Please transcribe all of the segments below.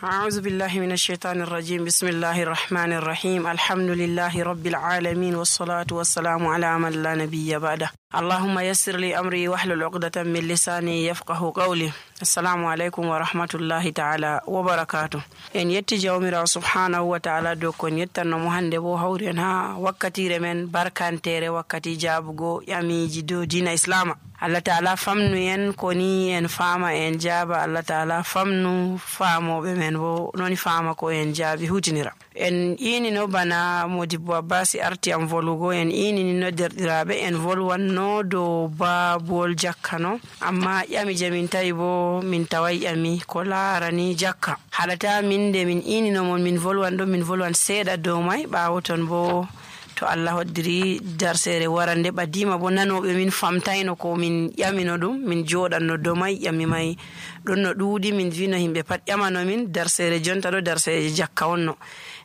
أعوذ بالله من الشيطان الرجيم بسم الله الرحمن الرحيم الحمد لله رب العالمين والصلاة والسلام على من لا نبي بعده اللهم يسر لي أمري واحلل عقدة من لساني يفقه قولي السلام عليكم ورحمة الله تعالى وبركاته en yetti jawmirawo subhanahu wa ta'ala dow kon yettannomo hande bo hawri en ha wakkatire men barkantere wakkati jabugo yamiji dow dina islama. Allah ta'ala famnu en koni en fama en jaba. Allah ta'ala famnu famoɓe men bo noni fama ko en jaabi hutinira. En inino bana Modibbo Abbasi arti am volugo en inini no derdiraɓe en volwanno dow babol jakkano amma ƴami jamin tawi bo min tawai ƴami ko larani jakka haɗata min de min inino mon min volwan ɗo min volwan seeɗa dow mai ɓawo ton bo to Allah hoddiri darsere warande ɓadima bo nanoɓe min famtayno ko min ƴamino ɗum min joɗanno dow mai ƴami mai ɗon no ɗuuɗi min vino himɓe pat ƴamano min darsere jonta ɗo darsere jakka wonno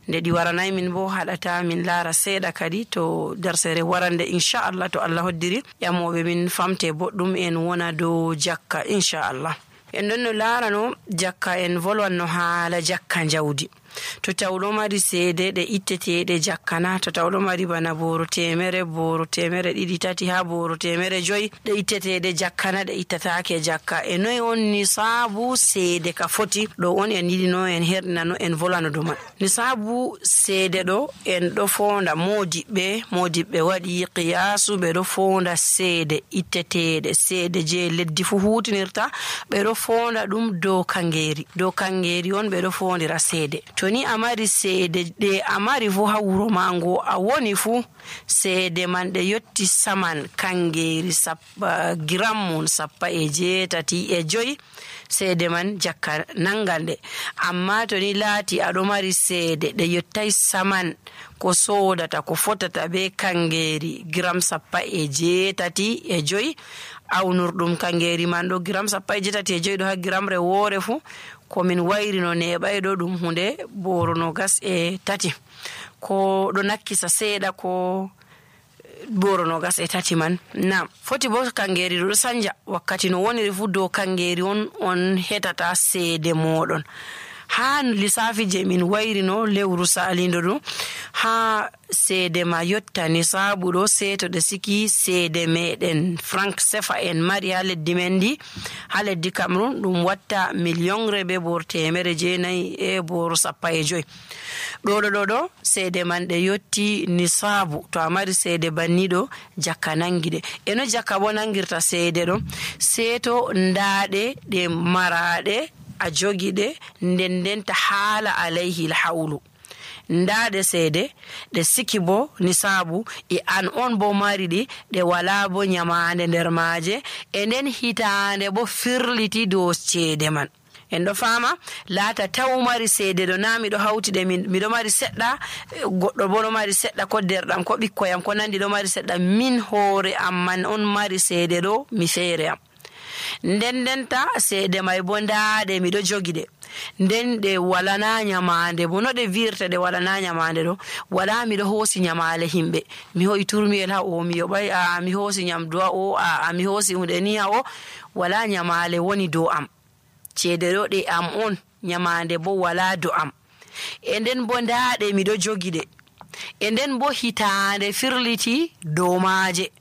nde ɗi waranay min bo haɗata min laara seeɗa kadi to darsere warande inchallah to Allah hoddiri ƴamoɓe min famte boɗɗum en wona dow jakka inchallah. En ɗon no laarano jakka en volwanno haala jakka jawdi. To tawɗo mari seede ɗe itteteɗe jakkana to tawɗo mari bana boro temere ɗiɗi tati ha boro temere joyi ɗe itteteɗe jakkana ɗe ittatake jakka e noyi on nisabu seede ka foti ɗo on en yiɗino en herɗinano en volano ɗo man. Nisabu seede ɗo en ɗo fonda modiɓɓe waɗi qiyasu ɓe ɗo fonda seede itteteɗe seede je leddi fu hutinirta ɓe ɗo fonda ɗum dow kangeri on ɓe ɗo fondira seede. To ni a mari seede ɗe a mari fu ha wuro mango a woni fu seede man ɗe yotti saman kangeri gram mun 17.5 seede man jakka nangande. Amma to ni laati aɗo mari seede ɗe yottai saman ko sodata ko fotata be kangeri gram 17.5 awnurɗum kangeri man ɗo gram 17.5 ɗo ha gramre woore fu komin wayrino neɓayɗo ɗum hunde boro 23 ko ɗo nakkisa seeɗa ko boro 23 man na foti bo kangeri ɗo sanja wakkati no woniri fu dow kangeri on hetata seede moɗon ha lissafi je min wayrino lewru salindo ɗum ha seede ma yotta nisabu ɗo seeto ɗe siki seede meɗen franc sefa en mari ha leddi men di ha leddi Cameroun ɗum watta millionre be boro 900 e boro 15 ɗo seede man ɗe yotti nisabu. To a mari seede banniɗo jakka nangiɗe eno jakka bo nangirta seede ɗo seeto ndaɗe ɗe maraɗe a jogiɗe ndendenta haala alayhi alhawlu ndaɗe seede ɗe siki bo nisabu e an on bo mari ɗe wala bo nyamande nder maaje e nden hitande bo firliti dow ceede man. En ɗo fama laata taw mari seede ɗo na miɗo hawtiɗe miɗo mari seɗɗa goɗɗo bo ɗo mari seɗɗa ko derɗam ko ɓikkoyam ko nandi ɗo mari seɗɗa min hoore amman on mari seede ɗo mi feere am ndendenta seede mai bo ndaɗe miɗo jogiɗe nden ɗe walana nyamande bo no ɗe virta ɗe walana nyamande ɗo wala miɗo hoosi nyamale himɓe mi hoyi turmiyel ha o mi yoɓay mi hoosi nyamdu ha o mi hoosi hunde ni ha o wala nyamale woni dow am ceede ɗo ɗe am on nyamande bo wala dow am e nden bo ndaɗe miɗo jogiɗe e nden bo hitande firliti dow maaje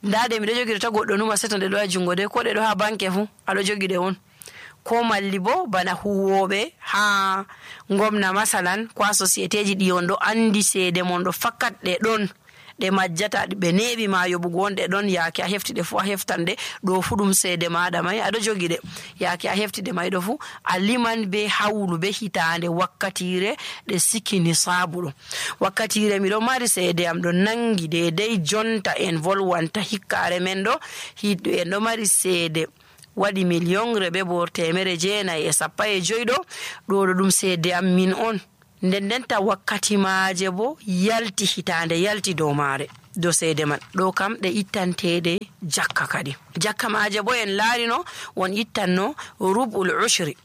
ndaɗe miɗo jogiɗe ta goɗɗo numa seto nde ɗo ha jungo de ko ɗe ɗo ha banke fu aɗo jogiɗe on ko malli bo bana huwoɓe ha gomna masalan ko ha société ji ɗi on ɗo andi seede mon ɗo fakkat ɗe ɗon ɗe majjata ɓe neɓi ma yoɓugo on ɗe ɗon yaake a heftiɗe fu a heftande ɗo fu ɗum seede maɗa mai aɗo jogiɗe yaake a heftiɗe mai ɗo fu a liman be hawlu be hitande wakkatire ɗe siki nisabu ɗo wakkatire miɗo mari seede am ɗo nangi dedei jonta en volwanta hikkare men ɗo en ɗo mari seede waɗi millionre be boro 915 ɗo ɗum seede am min on ndendenta wakkati maaje bo yalti hitande yalti dow maare dow seede man ɗo kam ɗe ittanteɗe jakka kadi jakka maaje bo en laarino on ittanno rub'ul ushri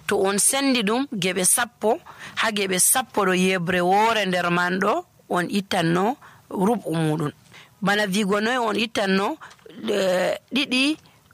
to on sendi ɗum geɓe 10 ha geɓe 10 ɗo yebre woore nder man ɗo on ittanno rub'u muɗum bana vigo noy on ittanno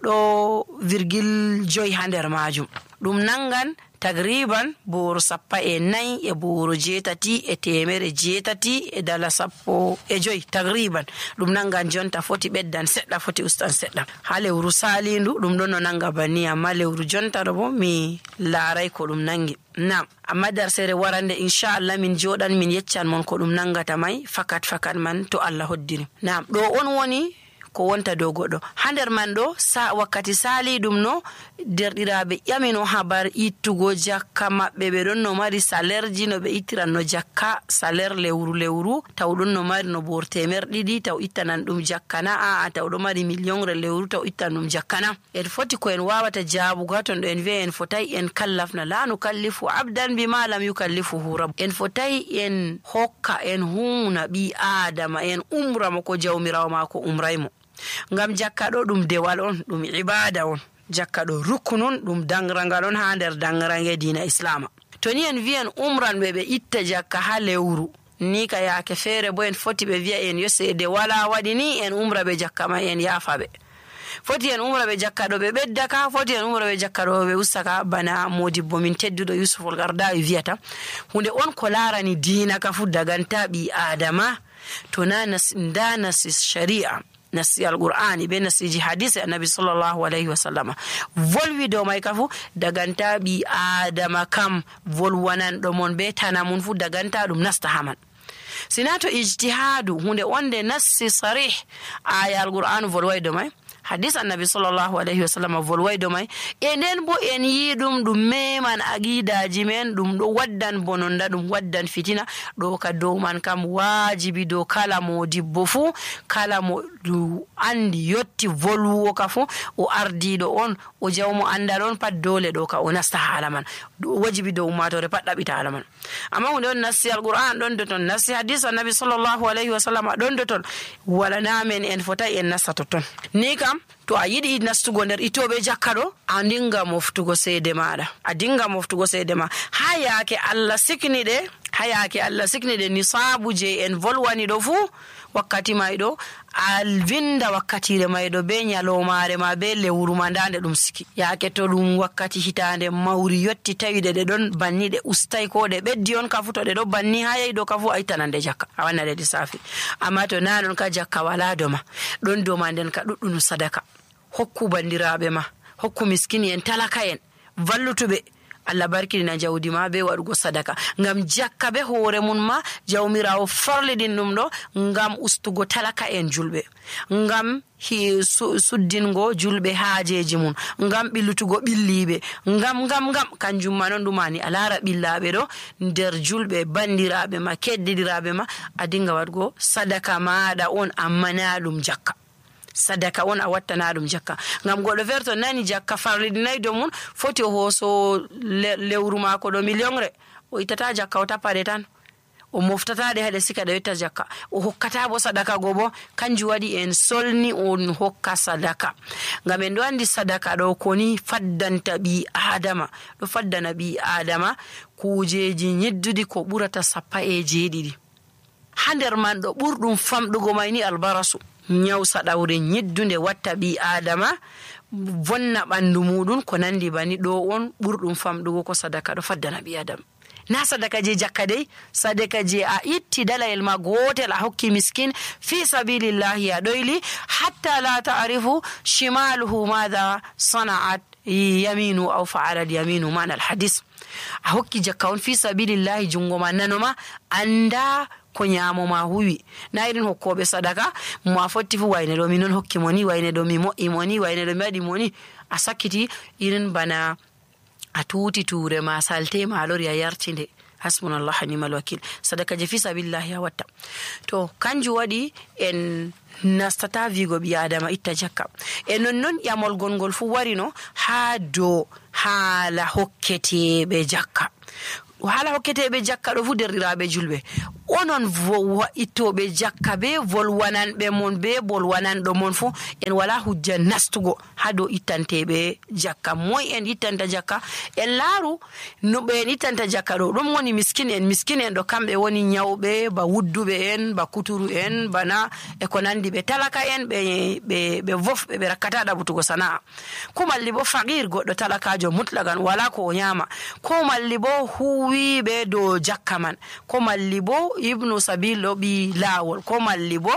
2.5 ha nder majum ɗum nangan tagriban boro 14 e boro 8,880 e dala 15 tagriban ɗum nanga jonta foti beddan sedda foti ustan sedda ha lewru salindu ɗum ɗon no nanga banni amma lewru jonta do bo mi laaray ko ɗum nangi nam amma darsere warande inchallah min jodan min yeccan mon ko ɗum nangata mai fakat man to Allah hoddiri nam ɗo on woni ko wonta dow goɗɗo ha nder man ɗo wakkati sali ɗum no derɗiraɓe ƴamino habar ittugo jakka maɓɓe ɓe ɗon no mari salaire ji no ɓe ittiran no jakka salaire lewru taw ɗon no mari no bor 200 taw ittanan ɗum jakkana taw ɗo mari million lewru taw ittan ɗum jakkana en foti ko en wawata jaabugo ha ton ɗo en wi'a en fotai en kallafna la nukallifu abdan bima lam yukallifuhu rabb en fotai en hokka en huna ɓi adama en umramo ko jawmirawo mako umraymo ngam jakka ɗo ɗum dewal on ɗum ibada on jakka ɗo rukunun ɗum dangragal on ha nder dangrange dina islama to ni en wi'en umran ɓe itta jakka ha lewru ni ka yaake feere bo en foti ɓe wi'a en yo seede wala waɗi ni en umra ɓe jakka ma en yaafa ɓe foti en umra ɓe jakka ɗo ɓe ɓeddaka foti en umra ɓe jakka ɗo ɓe ustaka bana modibbo min tedduɗo Yusuf al-Qaradawi wiyata hunde on ko larani dina ka fu daganta ɓi adama to na nasi sharia nasi al-Qur'ani be nasiji hadisi annabi sallallahu alaihi wasallam volwi do mai kafu daganta bi adama kam volwanan do mon be tanamun fu daganta dum nasta haman sinato ijtihadu hunde onde nasi sarih aya al-Qur'an volwai do mai hadis annabi sallallahu alaihi wasallam volwai do mai enen bo en yidum dum meman aqidaji men dum do waddan bononda dum waddan fitina do ka do man kam wajibi do kala modibbo fu kala mo du andi yotti volwo ka fu o ardido on o jawmo andal on pat dole do ka o nasta hala man wajibi do ummatore pat dabita hala man amma hunde on nasi al-Qur'an don do ton nasi hadis annabi sallallahu alaihi wasallam don do ton wala namen en fota en nasta ton ni kam to a yiɗi nastugo nder itoɓe jakka ɗo a dinga moftugo seede maɗa a dinga moftugo seede ma ha yaake Allah sikni ɗe nisabu je en volwani ɗo fu wakkati may ɗo a vinda wakkatire may ɗo be nyalomare ma be lewru ma ndande ɗum siki yaake to ɗum wakkati hitande mawri yotti tawiɗe ɗe ɗon banni ɗe ustay ko ɗe ɓeddi on kafu to ɗe ɗo banni ha yayi ɗo kafu a ittanande jakka a wanna ɗe lissafi amma to nanon ka jakka wala doma ɗon doma nden ka ɗuɗɗunu sadaka hokku bandiraɓe ma hokku miskini en talaka en vallutuɓe Allah barkidina jawdi ma be waɗugo sadaka ngam jakka be hoore mun ma jawmirawo farlidin ɗum ɗo ngam ustugo talaka en julɓe ngam suddingo julɓe haajeji mun ngam ɓillutugo ɓilliɓe ngam kanjum ma non ɗumani a lara ɓillaɓe ɗo nder julɓe bandiraɓe ma keddidiraɓe ma a dinga waɗugo sadaka maɗa on amma na ɗum jakka sadaka on a wattana ɗum jakka ngam goɗɗo feere to nani jakka farlidinayi do mun foti o hooso lewru mako ɗo millionre o ittata jakka o tappade tan o moftataɗe haɗe sika ɗe yetta jakka o hokkata bo sadaka go bo kanjum waɗi en solni on hokka sadaka ngam en ɗo andi sadaka ɗo koni faddanta ɓi adama ɗo faddana ɓi adama kujeji nyeddudi ko ɓurata 17 ha nder man ɗo ɓurɗum famɗugo mayni albarasu nyaw saɗawre nyeddunde watta ɓi adama vonna ɓandu muɗum ko nandi bani ɗo on ɓurɗum famɗugo ko sadaka ɗo faddana ɓi adama na sadaka je jakka dey sadaka je a itti dalayel ma gotel a hokki miskin fi sabilillahi a ɗoyli hatta la ta'rifu shimaluhu madha sana'at yaminu aw fa'ala yaminu man al hadis a hokki jakka on fi sabilillahi jungo ma nanoma anda ko nyamo ma huwi na irin hokkobe sadaka mo fotti fu wayne do minon hokki moni wayne do mi mo'i moni wayne do mi wadi moni a sakkiti irin bana a tuti ture ma salte ma lori a yartinde hasbunallahu ni'mal wakil sadaka je fi sabilillahi ya watta to kanju wadi en nastata vigo bi adama itta jakka e non yamol gongol fu warino ha do hala hokkete be jakka hala hokkete jakka do fu derrirabe julbe onon ittobe jakka be volwanan be mon be bolwanan do mon fu en wala hujja nastugo ha dow ittanteɓe jakka. Moy en ittanta jakka? En laaru no ɓe en ittanta jakka ɗo ɗum woni miskin en ɗo kamɓe woni nyawɓe, ba wudduɓe en, ba kuturu en, bana e ko nandi. Ɓe talaka en ɓe wofɓe ɓe rakkata ɗaɓutugo sana'a. Ko malli bo faqir, goɗɗo talakajo mutlagan wala ko o nyama, ko malli bo huwiɓe dow jakka man, ko malli bo ibnu sabil ɗo ɓi laawol, ko malli bo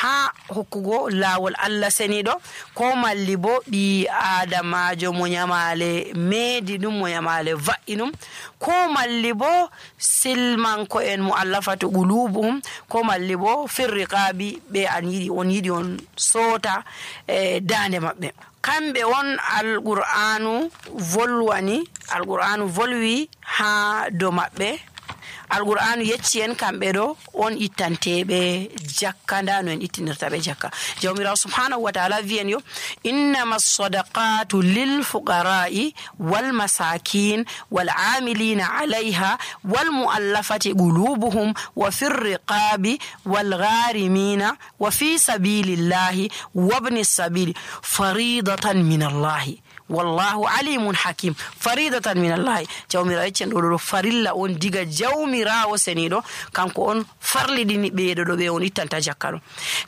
ha hokkugo laawol Allah seniɗo, ko malli bo ɓi adamajo mo nyamale meedi ɗum, mo nyamale va'i ɗum, ko malli bo silmanko en mo allafatu qulubuhum, ko malli bo firriqabi ɓe on yiɗi on soota dande maɓɓe. Kamɓe on alqur'anu volwi ha dow maɓɓe. Alqur'anu yecci en kamɓe ɗo on ittanteɓe jakka. Nda no en ittinirta ɓe jakka. Jawmirawo subhanahu wa ta'ala wi'en yo innama sadaqatu lil fuqara'i wal masakin wal amilina alayha wal mu'allafati qulubuhum wa fir riqabi wal gharimina wa fi sabilillahi wabni sabili faridatan min Allahi wallahu alimun hakim. Faridatan min Allahi, jawmirawo yeccen ɗo farilla on diga jawmirawo seniɗo, kanko on farliɗini ɓeeɗo ɗo ɓe on ittanta jakka ɗo.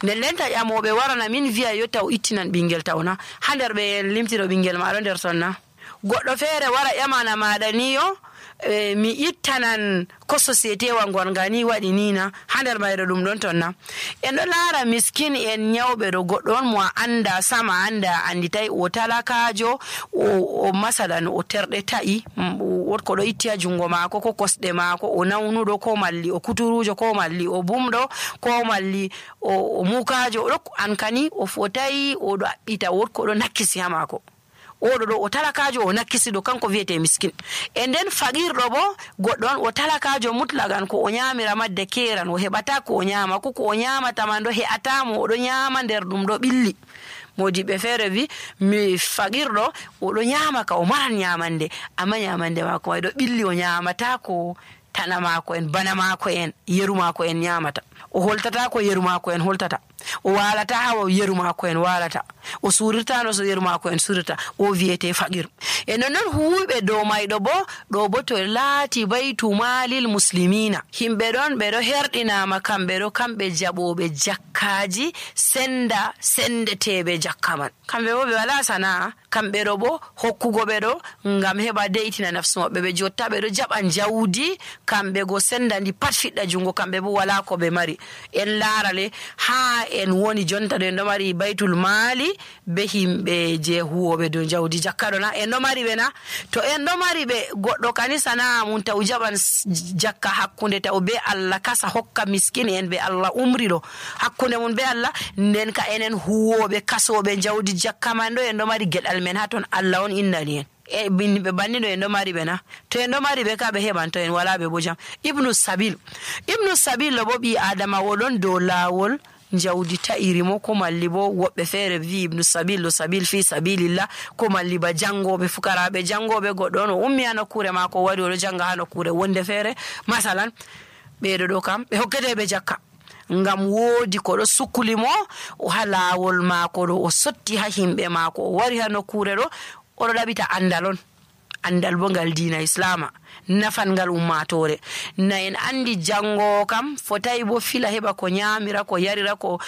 Nden lenta ƴamoɓe warana min wiya yo taw ittinan ɓingel tawna ha nder ɓe limtiro ɓingel maɗo nder tonna. Goɗɗo feere wara ƴamana maɗa ni yo mi ittanan ko société wa gonga ni waɗi nina ha nder mayre ɗum ɗon tonna. En ɗo laara miskin en nyawɓe ɗo, goɗɗo on mo a anda sama anda anditay, o talakajo, o masalan o terɗe ta'i, wotko ɗo itti ha jungo maako, ko kosɗe maako, o nawnuɗo, ko malli o kuturujo, ko malli o bumɗo, ko malli o mukajo, oɗo ankani o fotayi, oɗo aɓɓita, wotko ɗo nakkisi ha maako. Oɗo ɗo o talakajo o nakkisiɗo, kanko wiyete miskin. E nden faqirɗo bo goɗɗo on o talakajo mutlagan, ko o nyamira madde keran, o heɓata ko o nyama, ko o nyamata man ɗo he'atamo, oɗo nyama nder ɗum ɗo ɓilli. Modiɓe feere wi mi faqirɗo oɗo nyama ka o maran nyamande, amma nyamande mako way ɗo ɓilli, o nyamata ko tana mako en, bana mako en, yeru mako en nyamata. O holtata ko yeru mako en holtata, o walata ha yeru mako en walata, o surirta no so yeru mako en surirta, o wiyete faqir. E non huuɓe dow mayɗo bo ɗo bo to laati baytu malil muslimina, himɓe ɗon ɓe ɗo herɗinama, kamɓe ɗo kamɓe jaɓoɓe jakkaji sendeteɓe jakka man. Kamɓe bo ɓe wala sana'a, kamɓe ɗo bo hokkugo ɓe ɗo ngam heɓa de'itina nafsu maɓɓe. Ɓe jotta ɓe ɗo jaɓan jawdi, kamɓe go sendandi pat fiɗɗa jungo, kamɓe bo wala ko ɓe mari. En laarale ha en woni jonta ɗo en ɗo mari baytul maali be himɓe je huwoɓe dow jawdi jakka ɗo na en ɗo mari ɓe na. To en ɗo mari ɓe, goɗɗo kani sana'a mum taw jaɓan jakka hakkunde taw be Allah kasa hokka miskin en be Allah umri ɗo hakkunde mum be Allah, nden ka enen huwoɓe kasoɓe jawdi jakka man ɗo en ɗo mari geɗal men ha ton Allah on innani en. E ɓe banni ɗo en ɗo mari ɓe na. To en ɗo mari ɓe ka ɓe heɓan, to en wala ɓe bo jam. Ibnu sabil ɗo bo ɓi adama woɗon dow laawol jawdi ta'irimo, ko malli bo woɓɓe feere wi ibnu sabil ɗo sabil fi sabilillah, ko malli ba jangoɓe, fukaraɓe jangoɓe, goɗɗo on o ummi ha nokkure mako, wari oɗo janga ha nokkure wonde feere masalan, ɓeɗo ɗo kam ɓe hokketeɓe jakka ngam woodi ko ɗo sukulimo o ha laawol mako ɗo, o sotti ha himɓe mako, o wari ha nokkure ɗo oɗo ɗaɓita andal bo ngal diina islama, nafan ngal ummatore. Na en andi jango kam fotai bo fila heɓa ko nyamira, ko yarira, ko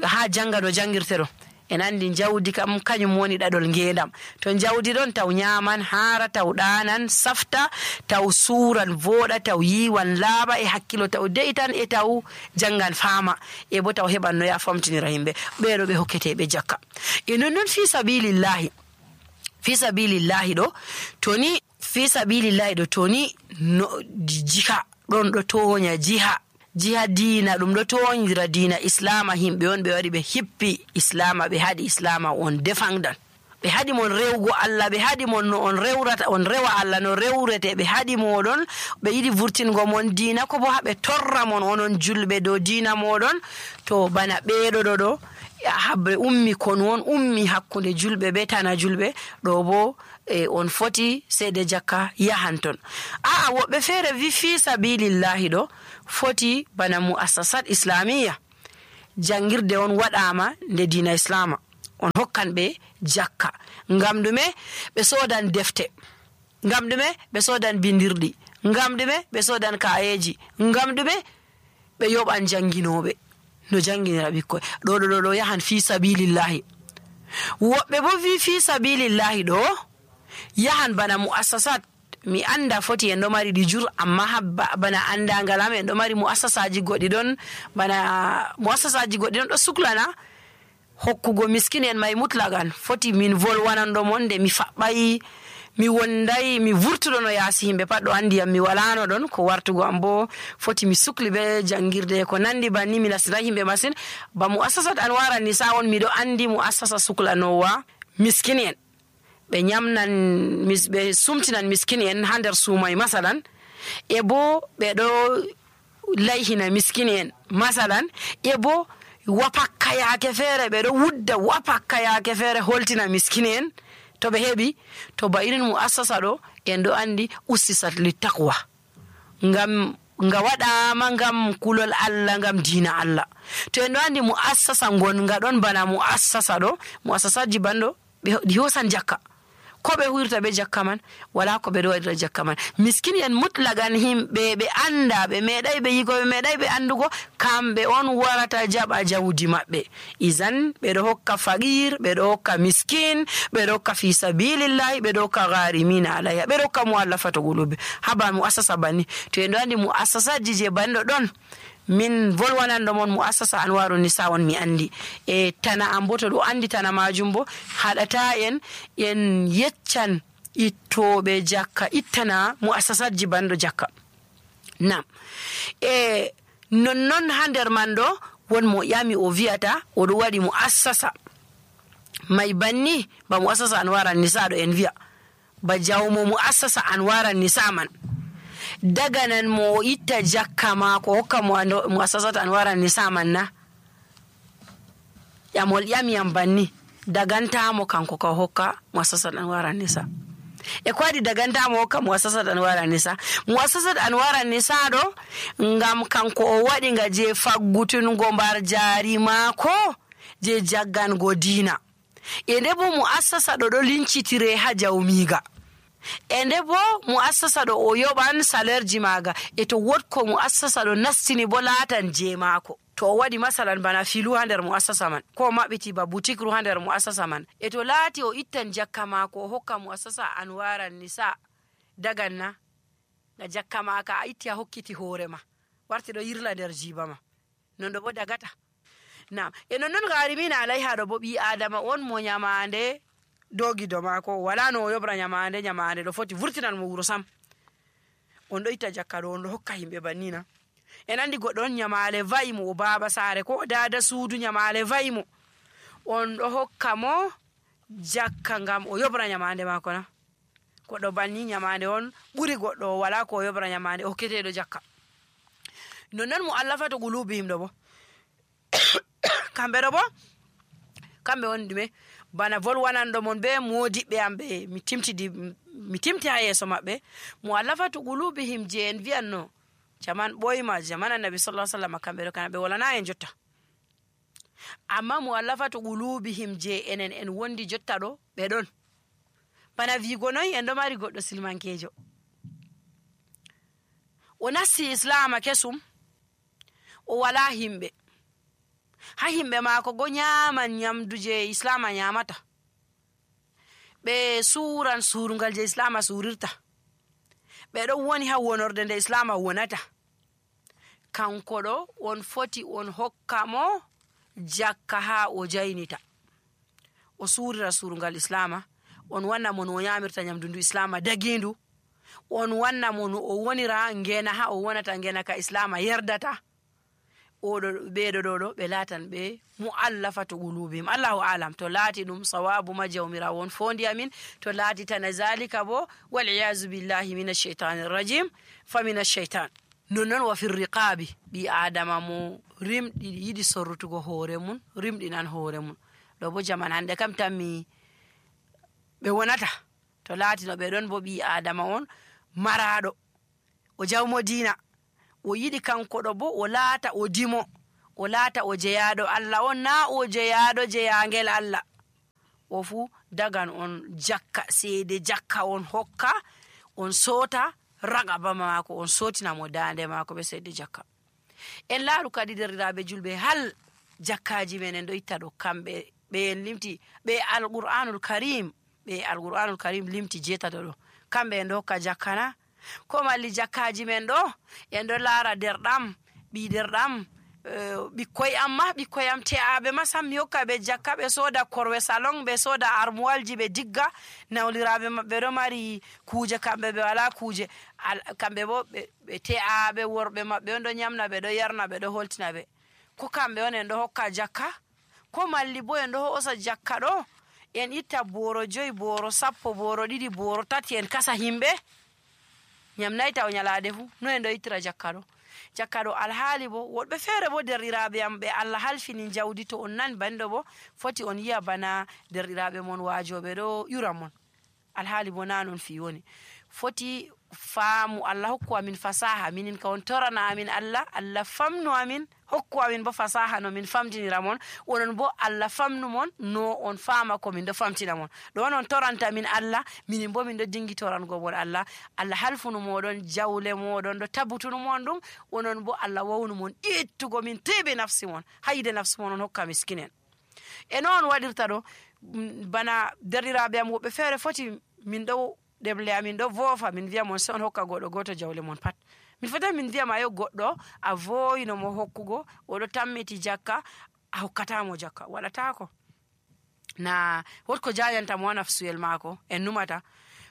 ha janga no jangirte ɗo. En andi jawdi kam kañum woni ɗaɗol ngendam. To jawdi ɗon taw nyaman, hara, taw ɗanan, safta, taw suran, voɗa, taw yiwan, laaɓa, e hakkilo taw de'itan, e taw jangan fama, e bo taw heɓan no ya famtinira himɓe. Ɓeɗo ɓe hokketeɓe jakka. E nonnon fi sabilillahi ɗo toni no jiha ɗon ɗo toña jiha diina, ɗum ɗo toñira diina islama. Himɓe on ɓe wari ɓe hippi islama, ɓe haɗi islama on defangdan, ɓe haɗi mon rewgo Allah, ɓe haɗi mon no on rewrata, on rewa Allah no rewrete, ɓe haɗi moɗon, ɓe yiɗi vurtingo mon diina, ko bo haɓe torra mon onon julɓe dow diina moɗon. To bana ɓeɗo ɗo habre ummi kon won ummi hakkunde julɓe be tana julɓe ɗo bo on foti seede jakka yahan ton. Woɓɓe feere wi fi sabilillahi ɗo foti bana muassasat islamiyya, jangirde on waɗama nde diina islama, on hokkan ɓe jakka. Ngam ɗume? ɓe sodan defte, ngam ɗume? ɓe sodan bindirɗi, ngam ɗume? ɓe sodan kayeji, ngam ɗume? ɓe yoɓan janginoɓe no janginira ɓikkoy. ɗo yahan fi sabilillahi. Woɓɓe bo fi sabilillahi ɗo yahan bana mu'assasat. Mi anda foti en ɗo mari ɗi jur, amma bana andangal am en ɗo mari mu'assasaji goɗɗi ɗon, bana mu'assasaji goɗɗi ɗon ɗo suklana hokkugo miskin en may mutlagan. Foti min volwanando mon nde mi faɓɓay, mi wonday, mi vurtuɗo no yaasi himɓe pat ɗo andi am, mi walano ɗon ko wartugo am bo foti mi sukli be jangirde ko nandi banni. Mi nasiray himɓe masin. Ba mu'assasat Anwara Nisa on miɗo andi mu'assasa suklanowa miskin en, ɓe nyamnan, ɓe sumtinan miskin en ha nder suumay masalan, e bo ɓe ɗo layhina miskin en masalan, e bo wapakka yaake feere ɓe ɗo wudda wapakka yaake feere holtina miskin en to ɓe heɓi. To ba irin mu'assasa ɗo en ɗo andi ussisat littaqwa, ngam nga waɗama ngam kulol Allah, ngam diina Allah. To en ɗo andi mu'assasa ngonga ɗon bana mu'assasa ɗo, mu'assasaji banɗo ɗi hosan jakka. Ko ɓe huirta be jakka man, wala ko ɓe ɗo waɗira jakka man. Miskin en mutlagan himɓe ɓe anda, ɓe meeɗay ɓe yigo, ɓe meeɗay ɓe andugo, kamɓe on warata jaɓa jawdi maɓɓe. Izan ɓe ɗo hokka faqir, ɓe ɗo hokka miskin, ɓe ɗo hokka fi sabilillahi, ɓe ɗo hokka gharimina alayha, ɓe ɗo hokka mu'allafatu qulubi. Haba mu'assasa banni. To en ɗo andi mu'assasaji je banɗo ɗon, min volwanando mon mu'assasa Anwaru Nisa on mi andi. E tana am bo to ɗo andi tana majum bo haɗata en yeccan ittoɓe jakka ittana mu'assasaji banɗo jakka. Nam nonnon ha nder man ɗo won mo ƴami o wiyata oɗo waɗi mu'assasa may banni ba mu'assasa Anwara Nisa ɗo en wiya ba jawmo mu'assasa Anwara Nisa man daganan mo itta jakka mako hokka mu'assasat Anwara Nisa man na, yamol ƴamiyam banni dagantamo kanko ka hokka mu'assasat Anwara Nisa. E ko waɗi dagantamo hokka mu'assasat Anwara Nisa? Mu'assasat Anwara Nisa ɗo ngam kanko o waɗi nga je faggutungo mbar jari mako je jaggango diina. E nde bo mu'assasa ɗo lincitire ha jawmiga. E nde bo mu'assasa ɗo o yoɓan salerji maga. E to wotko mu'assasa ɗo nastini bo laatan je mako. To o waɗi masalan bana filu ha nder mu'assasa man, ko maɓɓiti ba butikru ha nder mu'assasa man, e to laati o ittan jakka mako o hokka mu'assasa Anwara Nisa, daganna na jakka maka a itti a hokkiti hoore ma warti ɗo yirla nder jiba ma, non ɗo bo dagata. Nam e nonnon gharimina alayha ɗo bo ɓi adama on mo nyamande dogido mako, wala no o yobra nyamande ɗo foti vurtinan mo wuro sam. On ɗo itta jakka ɗo on ɗo hokka himɓe bannina. En andi goɗɗo on nyamale va'i mo o baba sare ko dada suudu, nyamale va'i mo, on ɗo hokka mo jakka ngam o yobra nyamande mako na. Goɗɗo banni nyamande on ɓuri goɗɗo wala ko o yobra nyamande o hokketeɗo jakka. Nonnon mu'allafatu qulubihim ɗo bo kamɓe ɗo bo kamɓe woni ɗume bana volwanando mon be modiɓɓe am ɓe mi timti ha yeso maɓɓe. Mu'allafatu qulubihim je en wiyanno jaman ɓoyma, jaman annabi sallallahu alaihi wasallam, kamɓe ɗo kana ɓe walana en jotta. Amma mu'allafatu qulubihim je enen en wondi jotta ɗo ɓe ɗon. Bana wigo noyi en ɗo mari goɗɗo silmankejo, o nasti islama kesum, o wala himɓe, ha himɓe mako go nyaman nyamdu je islama nyamata, ɓe suran surungal je islama surirta, ɓe ɗon woni ha wonorde nde islama wonata. Kanko ɗo on foti on hokka mo jakka ha o jaynita, o surira surungal islama, on wanna mo no o nyamirta nyamdu ndu islama dagindu, on wanna mo no o wonira ngena ha o wonata ngena ka islama yerdata. Oɗo ɓeɗo ɗo ɓe latan ɓe mu'allafatu qulubihim. Allahu alam to laati ɗum sawabu ma jawmirawo on fondi amin, to laati tana zalika bo wal iyazu billahi minash shaitanir rajim fa minash shaitan. Nonnon wa fir riqabi, ɓi adama mo rimɗi yiɗi sorrutugo hoore mun rimɗinan hoore mun. Ɗo bo jaman hande kam tammi ɓe wonata to laati no ɓe ɗon bo ɓi adama on maraɗo, o jawmo diina, o yiɗi kanko ɗo bo o laata o dimo, o laata o jeyaɗo Allah on, na o jeyaɗo jeyangel Allah. o fu dagan on jakka seede jakka on hokka on sota ragaba maako on sotina mo dande maako be seede jakka. En laaru kadi derdiraaɓe julɓe hal jakkaji men en ɗo itta ɗo kamɓe ɓe en limti ɓe alqur'anul karim limti jetato ɗo kamɓe en ɗo hokka jakkana ko malli jakkaji men ɗo en ɗo laara derɗam ɓi derɗam ɓikkoy am te'aɓe ma sam mi hokka ɓe jakka ɓe soda korwe salon ɓe soda armuwalji ɓe digga nawliraɓe maɓɓe ɗo mari kuje kamɓe ɓe wala kuje kamɓe bo ɓe te'aɓe worɓe maɓɓe on ɗo nyamna ɓe ɗo yarna ɓe ɗo holtina ɓe ko kamɓe on en ɗo hokka jakka ko malli bo en ɗo hosa jakka ɗo en itta boro 5 boro 10 boro 2 boro 3 en kasa himɓe nyamnayta o nyalade fu no en ɗo ittira jakka ɗo alhaali bo woɗɓe feere bo derɗiraaɓe am ɓe Allah halfini jawdi to on nan banndo bo foti on yi'a bana derɗiraaɓe mon waajoɓe ɗo yura mon alhaali bo na non fi woni foti faamu Allah hokku amin fasaha minin ka on torana amin Allah famnu amin hokku amin bo fasaha no min famtinira mon onon bo Allah famnu mon no on faama ko min ɗo famtina mon ɗo on toranta min Allah minin bo min ɗo dingi torango mon Allah halfunu moɗon jawle moɗon ɗo tabutunu mon ɗum onon bo Allah wawnu mon ittugo min teɓe nafsi mon hayde nafsi mon on hokka miskinen e noon waɗirta ɗo bana derɗiraaɓe am woɓɓe feere foti min ɗo ɗemle amin ɗo voofa min wiya mon se on hokka goɗɗo goto jawle mon pat min fota min wiyama yo goɗɗo a voyino mo hokkugo oɗo tammiti jakka a hokkatamo jakka waɗatako na wotko jayanta mo nafsuyel maako en numata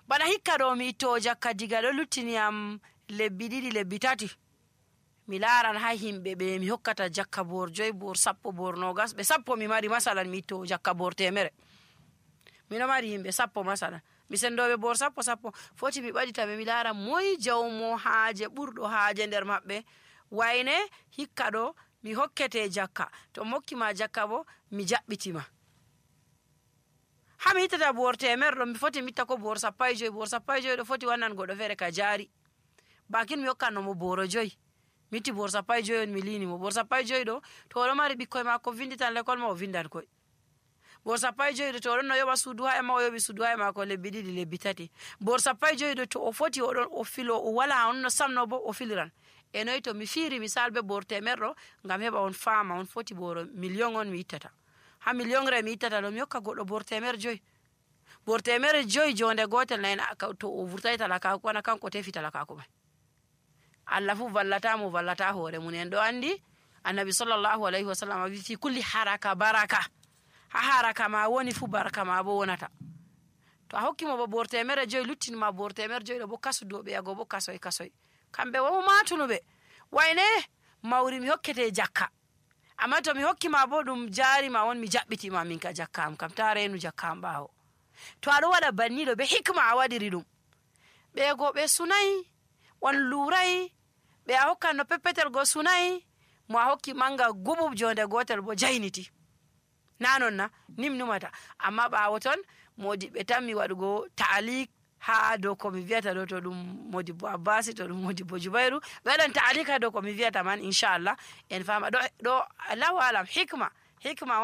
bana hikka ɗo mi itto jakka diga ɗo luttiniyam lebbi 2 lebbi 3 mi laaran ha himɓe ɓe mi hokkata jakka bor 5 bor 10 bor 20 ɓe 10 mi mari masalan mi itto jakka bor 100 miɗo mari himɓe 10 masalan mi sendoɓe bor 10 foti mi ɓaɗitaɓe mi laara moy jawmo haaje ɓurɗo haaje nder maɓɓe wayne hikka ɗo mi hokkete jakka to mokkima jakka bo mi jaɓɓitima ha mi ittata bor 100 ɗo mi foti mi itta ko bor 15 bor 15 ɗo foti wannan goɗɗo feere ka jaari bakin mi hokkannomo boro 5 mi itti bor 15 on mi lini mo bor 15 ɗo to oɗo mari ɓikkoy makko vinditan l'école ma o vindan koy bor 15 to oɗon no yoɓa suudu haya ma o yoɓi suudu haya ma ko lebbi 2 lebbi 3 bor 15 to o foti oɗon o filo o wala on no samno bo o filiran e noy to mi fiiri misal be bor 100 ɗo ngam heɓa on faama on foti boro million on mi ittata ha million re mi ittata ɗo mi hokka goɗɗo bor 100 bor 100 jonde gotel nayi to o vurtai talakaku wana kanko tefi talakaku mai Allah fu vallata hoore mun en ɗo andi annabi sallallahu alaihi wasallam wi fi kulli haraka baraka ha haraka ma woni fu baraka ma bo wonata to a hokkimo bo bor 100 luttinima bor 100 ɗo bo kasudoɓe yago bo kasoy kamɓe wo matunuɓe wayne mawri mi hokkete jakka amma to mi hokkima bo ɗum jarima won mi jaɓɓitima min ka jakka am kam ta renu jakka am ɓawo to aɗo waɗa banniɗo be hikma a waɗiri ɗum ɓe go ɓe sunayi on lurai ɓe a hokkan no peppetel go sunayi mo a hokki manga gubub jonde gotel bo jayniti nanon na numata amma ɓawo ton modiɓɓe tan mi waɗugo taalik ha dow ko mi wiyata ɗo to ɗum modibbo abbasi to ɗum modibbo jubairu ɓe waɗan taalik ha dow ko mi wiyata man inchallah en fama ɗo allahu alam hikma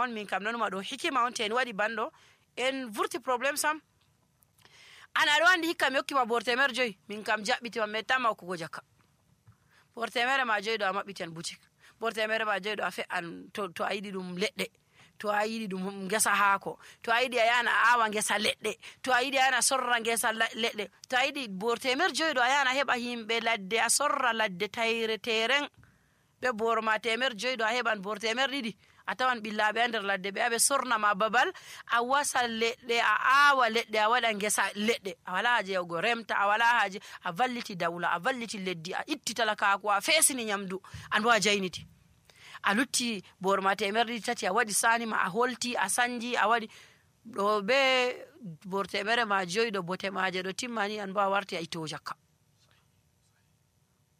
on min kam nonuma ɗo hikima on te en waɗi banɗo en vurti probléme sam an aɗo andi hikka mi hokkima bor 100 min kam jaɓɓitima mi tamma hokkugo jakka bor 100 ma 5 ɗo a maɓɓiten boutique bor 100 ma 5 ɗo a fe'an to a yiɗi ɗum leɗɗe to a yiɗi ɗum ngesa haako to a yiɗi a yana awa ngesa leɗɗe to a yiɗi a yana sorra ngesa leɗɗe to a yiɗi bor 100 ɗo a yana heɓa himɓe ladde a sorra ladde tayre teren ɓe bor ma 100 ɗo a heɓan bor 200 a tawan ɓillaɓe a nder ladde ɓe aɓe sornama babal a wasa leɗɗe a awa leɗɗe a waɗa ngesa leɗɗe a wala haje yawgo remta a wala haje a valliti dawla a valliti leddi a itti talakaku a fesini nyamdu an bo a jayniti a lutti bor ma 100 a waɗi sanima a holti a sanji a waɗi ɗo be bor 100 ma 5 ɗo bote maje ɗo timmani an bo a warti a ittowo jakka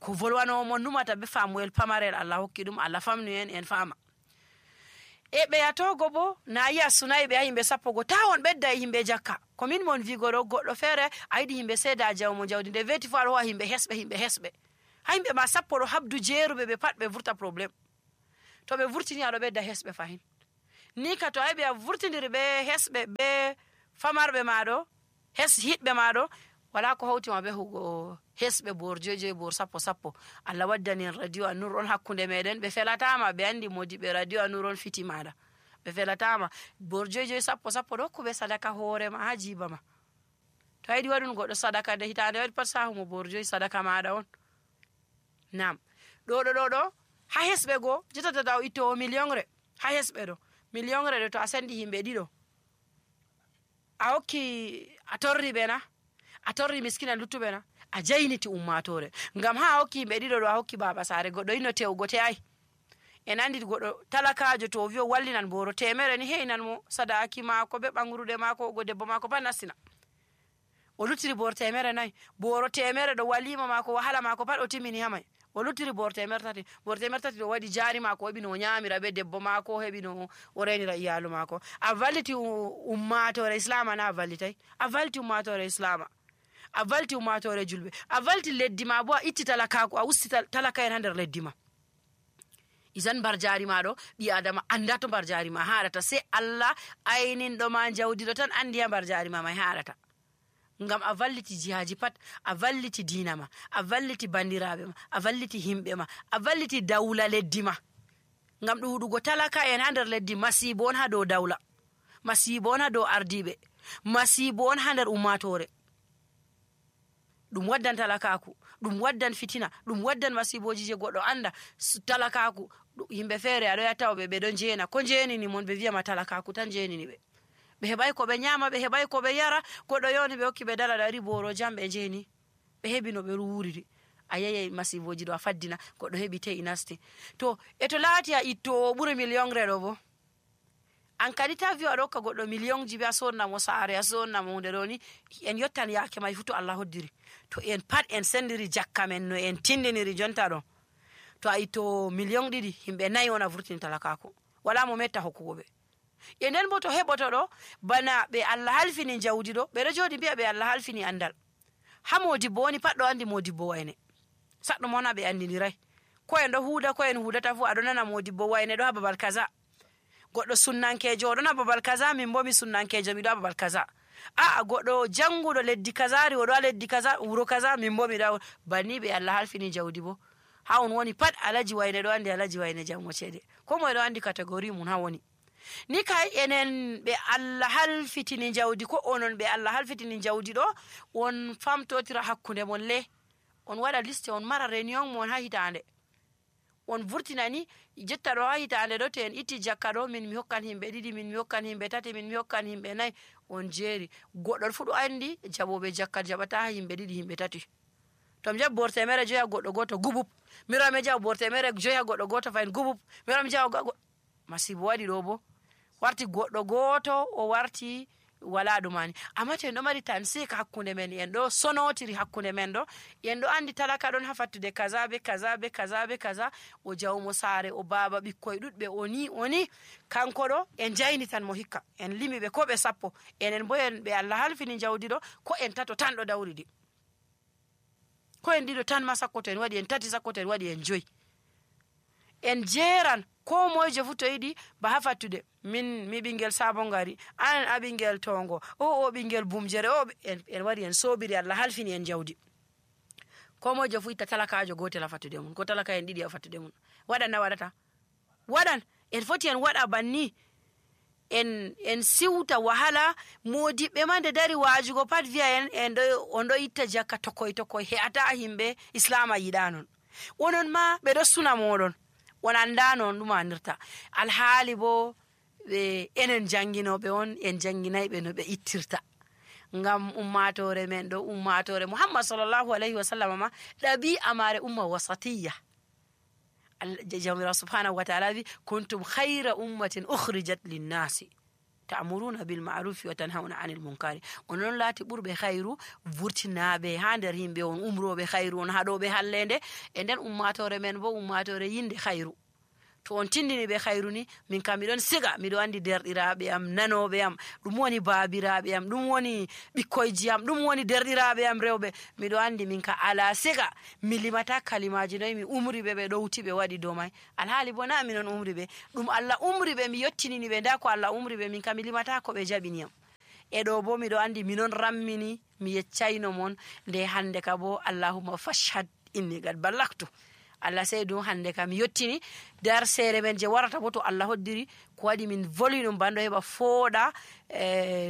ko volwanowo mon numata be famuel pamarel Allah hokki ɗum Allah famnu en fama e ɓe yatogo bo na yi'a sunayi ɓe ha yimɓe 10 go tawon ɓedda e yimɓe jakka komin mon wigo ɗo goɗɗo feere a yiɗi yimɓe seeda jawmo jawdi nde weti fo aɗa howa yimɓe hesɓe ha yimɓe ma 10 ɗo habdu jeeruɓe ɓe pat ɓe vurta probléme to ɓe vurtini aɗo ɓedda hesɓe fahin ni ka to a heɓi a vurtidiri ɓe hesɓe ɓe famarɓe maɗo hiɗɓe maɗo wala ko hawtima ɓe hugo hesɓe bor 2 bor 10 Allah waddani en radio An-Nur on hakkunde meɗen ɓe felatama ɓe andi modiɓe radio An-Nur on fiti maɗa ɓe felatama bor 2 10 ɗo hokkuɓe sadaka hoorema ha jiba ma to a yiɗi waɗun goɗɗo sadaka nde hitande waɗi pat sahumo bor 2 sadaka maɗa on nam ɗo ha hesɓe goo jottata o ittowo millionre ha hesɓe ɗo millionre ɗo to a sendi himɓe ɗiɗo a hokki a torri ɓe na a torri miskina luttuɓe na a jayniti ummatore ngam ha a hokki himɓe ɗiɗo ɗo a hokki baba sare goɗɗo yino tewgo te ay en andi goɗɗo talakajo to o wi o wallinan boro 100 ni heynan mo sadaki mako be ɓangrude mako ogo debbo mako pat nastina o luttiri bor 100 boro 100 ɗo walima mako wahala mako pat o timmini hamay o luttiri bor 300 ɗo waɗi jari mako heɓi no o ñamira be debbo mako heɓi no o renira iyalu mako a valliti ummatore islama na a vallitay a valliti ummatore islama a valliti ummatore julɓe a valliti leddi ma bo a itti talakaku a usti talaka en ha nder leddi ma isan mbar jari ma ɗo ɓi adama anda to mbar jari ma haɗata sei Allah ayninɗo ma jawdiɗo tan andi ha mbar jari ma may haɗata ngam a valliti jihaji pat a valliti dina ma a valliti bandiraɓe ma a valliti himɓe ma a valliti dawla leddi ma ngam ɗuɗugo talaka en ha nder leddi masibo on ha dow dawla masibo on ha dow ardiɓe masibo on ha nder ummatore ɗum waddan talakaku ɗum waddan fitina ɗum waddan masiboji je goɗɗo anda talakaku yimɓe feere aɗo yattawoɓe ɓe ɗon jeena ko jeenini mon ɓe wiyama talakaku tan jeenini ɓe ɓe heɓay ko ɓe ñama ɓe heɓay ko ɓe yara goɗɗo yoni ɓe hokki ɓe dala ɗari boro jam ɓe jeeni ɓe heɓi no ɓe wuriri a yeyay masiboji ɗo a faddina goɗɗo heɓi te'i nasti to e to laati a ittowo ɓuri millionre ɗo bo an kadi ta wiwa ɗo hokka goɗɗo millionji be a sonnamo saare a sonnamo hunde ɗo ni en yottan yake may fu to Allah hoddiri to en pat en sendiri jakka men no en tindiniri jonta ɗo to a ittowo million 2 himɓe 4 on a vurtini talakako wala mo metta hokkugo ɓe e nden bo to heɓoto ɗo bana ɓe Allah halfini jawdi ɗo ɓeɗo jooɗi mbiya ɓe Allah halfini andal ha modibbo woni pat ɗo andi modibbo wayne saɗɗo mon ha ɓe andiniray ko en ɗo huuda ko en huudata fu aɗo nana modibbo wayne ɗo ha babal kaza goɗɗo sunnankejo oɗon ha babal kaza min bo mi sunnankejo miɗo ha babal kaza a goɗɗo janguɗo leddi kazari oɗo ha leddi kaza wuro kaza min bo miɗo banni ɓe Allah halfini jawdi bo ha on woni pat alaji wayne ɗo andi alaji wayne jango ceede ko moye ɗo andi catégorie mum ha woni ni kay enen ɓe Allah halfitini jawdi ko onon ɓe Allah halfitini jawdi ɗo on famtotira hakkunde mon le on waɗa liste on mara réunion mon ha hitande on vurtinani jetta ɗo ha hitande ɗo to en itti jakka ɗo min mi hokkan himɓe 2 min mi hokkan himɓe 3 min mi hokkan himɓe 4 on jeeri goɗɗo fu ɗo andi jaɓoɓe jakka jaɓata ha himɓe 2 himɓe 3 to mi jaɓi bor 100 ha goɗɗo goto gubub mirami jaɓa bor 100 ha goɗɗo goto fayin gubub mirami jaɓa masibo waɗi ɗo bo warti goɗɗo goto o warti wala ɗumani amma to en ɗo mari tansika hakkunde men en ɗo sonotiri hakkunde men ɗo en ɗo andi talaka ɗon ha fattude kaza be kaza be kaza be kaza o jawmo saare o baba ɓikkoye ɗuɗɓe oni kanko ɗo en jaynitan mo hikka en limi ɓe ko ɓe 10 enen bo en ɓe Allah halfini jawdi ɗo ko en 3 tan ɗo dawridi ko en 2 tan ma sakko to en waɗi en 3 sakko to en waɗi en 5 en jeeran ko moyejo fu to yiɗi ba ha fattude mi ɓingel sabon gari an a ɓingel tongo o ɓingel bumjere o en wari en sobiri Allah halfini en jawdi ko moyejo fu itta talakajo gotel ha fattude mun ko talaka en 2 ha fattude mun waɗan na waɗata waɗan en foti en waɗa banni en siwta wahala modiɓɓe ma nde dari wajugo pat wiya en on ɗo itta jakka tokoy he'ata himɓe islama yiɗa non onon ma ɓe ɗo suna moɗon on anda noon ɗum anirta alhaali bo ɓe enen janginoɓe on en janginayɓe no ɓe ittirta ngam ummatore men ɗo ummatore Muhammad sallallahu alaihi wasallam ma ɗabi'a mare umma wasatiyya jamira subhanahu wa ta'ala wi kuntum khayra ummatin ukhrijat linnasi ta'muruna bil ma'ruf wa tanhauna 'anil munkari onon laati ɓurɓe khayru vurtinaɓe ha nder yimɓe on umroɓe khayru on haɗoɓe hallende e nden ummatore men bo ummatore yinde khayru to on tindini be khairu ni min kam midon siga mido andi derdiraabe am nanobe am dum woni baabiraabe am dum woni bikkoyji am dum woni derdiraabe am rewbe mido andi min ka ala siga mi limata kalimaaji noy mi umri be dowti be wadi do mai alhaali bo na minon umri be dum Allah umri be mi yottinini be nda ko Allah umri be min kam mi limata ko be jabini am e do bo mido andi minon rammini mi yeccayno mon nde hande ka bo Allahumma fashhad inni gad ballaktu Allah sey dum hande kam yottini dar sere men je warata bo to Allah hoddiri ko wadi min voli dum bando heba fooda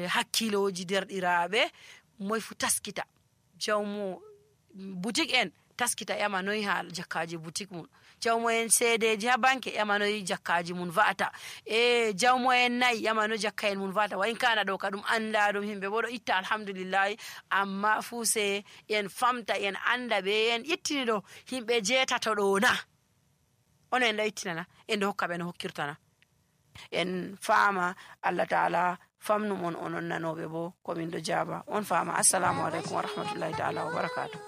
hakkiloji derdiraabe moy fu taskita jawmo boutique en taskita yama noy ha jakkaaji boutique mun jawmo en seedeji ha banke yama noy jakkaaji mun vaata e jawmo en nay yama no jakka en mun vaata wa in kana do kadum anda dum himbe bo do itta alhamdulillah amma fu se en famta en anda be en ittini do himbe jetato do na on en ittinana en do hokka be no hokkirtana en faama Allah taala famnu mon onon nanobe bo ko min do jaba on faama assalamu alaikum wa rahmatullahi taala wa barakatuh